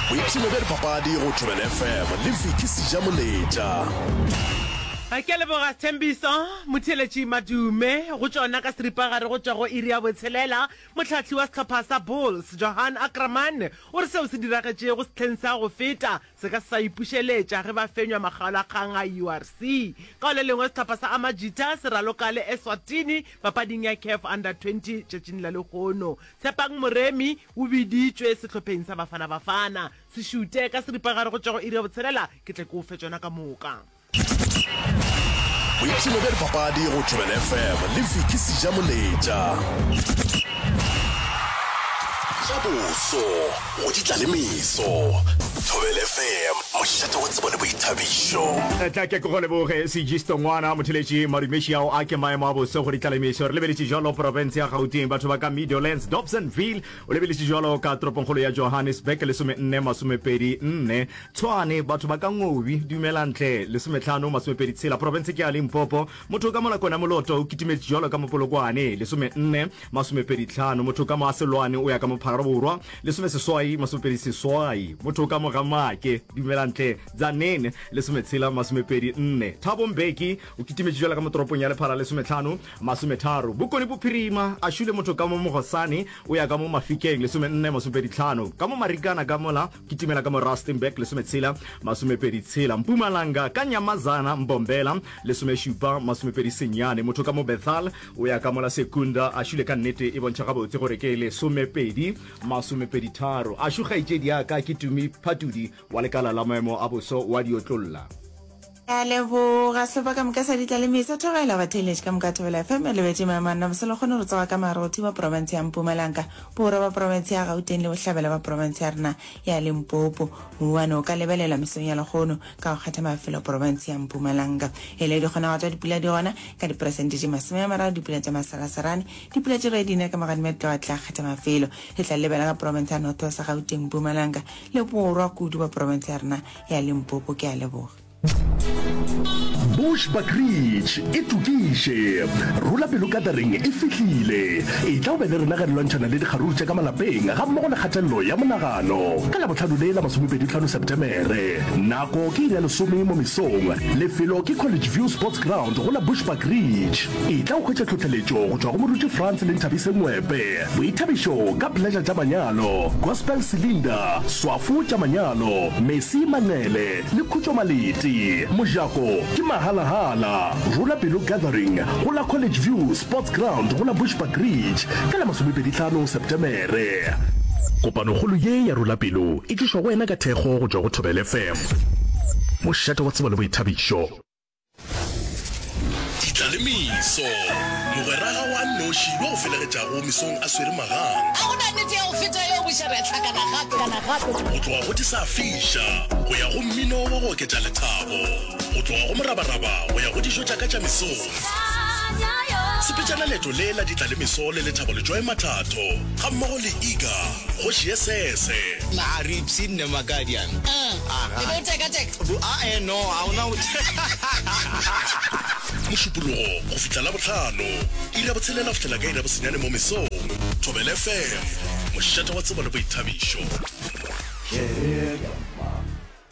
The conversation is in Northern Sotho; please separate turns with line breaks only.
Boipshino bja dipapadi go Thobela FM le Vicky Sejamoletša.
Ke a leboga Sthembiso Motheeletši Madume go tšona ka seripagare go tšwa go iri ya botshelela. Mohlahli wa sehlopha sa Bulls, Johan Ackermann, o re seo se diragetšego sehleng sa go feta se ka se sa ipušeletša ge ba fenywa makgaolakgang a URC. Ka go le lengwe sehlopha sa Amajita se raloka le Eswatini papading ya Caf Under 20 tšatšing la lehono. Tshepang Moremi o biditšwe sehlopheng sa Bafana Bafana. Se šute ka seripagare go tšwa go iri ya botshelela ke tle ke o fe tšona ka moka.
Boipshino bja dipapadi go Thobela FM le Vicky Sejamoletša. Tša boso go di tla le meso. Thobela FM, mošate wa tsebo le boithabišo.
Tla ke ke go leboge Sejisto ngwana motheletši madumeši ao a ke maemo a boso go di tla le meso. Re lebeletše jalo profense ya Gauteng batho ba ka Meadowlands, Dobsonville o lebeletše jalo ka toropongkgolo ya Johannesburg 14 24 Tshwane batho ba ka Ngobi dumelang tle 15 26 profense ke ya Limpopo motho ka mola Kona Moloto o kitimetše jalo ka mo Polokwane 14 25 motho ka mo Aselwane o ya ka mo Pharaborwa 18 28 motho ka mo Gamake dumelang tle Tzaneen 16 24 Thabo Mbeki o kitimetše jalo ka mo toropong ya Lephala 15 30 Bokone Bophirima a šule motho ka mo Mogosane o ya ka mo Mafikeng 14 25 ka mo Marikana ka mola Kitimela ka mo Rustenburg 16 26 Mpumalanga ka Nyamazana Mbombela 17 29 Motho ka mo Bethal o ya ka mola Secunda a šule ka nnete e bontšha gabotse gore ke 12 23 A šu kgaetšedi ya ka ke Tumi Phatudi wa lekala la maemo a boso wa diotlolla.
Ke a leboga sehlopha ka moka sa Ditlalemiso. Thobela batheeletši ka moka Thobela FM e lebetše maemo a rena bose le kgone go tsoga ka Marothi wa profense ya Mpumalanga, borwa ba profense ya Gauteng le bohlabela ba profense ya rena ya Limpopo. Mouwane o ka lebelelwa mesong ya lekgono ka go kgetha mafelo profense ya Mpumalanga. E le dikgonagalo tša dipula di gona ka diperesente tše 30 dipula tša maseraserane, dipula tše ge di na ka magadima di tloga tla kgetha mafelo. E tla lebela ka profense ya North West, Gauteng, Mpumalanga le borwa kudu ba profense ya rena ya Limpopo. Ke a leboga.
Bushbuckridge e tokiše. Rula pelo gathering e fihlile. Etla o be le rena ge re lwantšhana le dikgaruru tša ka malapeng gammogo le kgatelelo ya monagano. Ka Labohlano le la masomepedihlano Setemere. Nako ke iri ya lesome mo mesong. Lefelo ke College View Sports Ground go la Bushbuckridge. Etla o hwetše tlhohleletšo go tšwa go Moruti Frans le Nthabise Ngwepe. Boithabišo ka Pleasure tša manyalo, Gospel Cylinder, Swafo tša manyalo, Mercy Manqele le Khutšo Maleti. Mojako ke mahalahala. Rola Pelo Gathering go la College View Sports Ground go la Bushbuckridge ka la masomepedihlano Setemere. Kopanokgolo ye ya Rola Pelo e tlišwa go wena ka thekgo go tšwa go Thobela FM, mošate wa tsebo le boithabišo. Ditlalemeso, Mogwera gago a nnoši yo a go felegetšago mesong a swere magang.
Ga go na nnete ya go feta yeo, buša re a hlakana gape.
Go tloga go di sa fiša go ya go mmino wa go oketša lethabo, go tloga go morabaraba go ya go dijo tša ka tša mesong. Sepetšana leeto le la ditlalemeso le Lethabo Letšoe Mathatho gammogo le Iga Kgoši ye Sese.
Na re ipshinne Makadian?
Aga. E be o teka-teka?
Bo, a-e, no, ga ona go.
Mošupologo go fihla Labohlano, iri ya botshelela go fihlela ka iri ya bosenyane mo mesong. Thobela FM, mošate wa tsebo le boithabišo.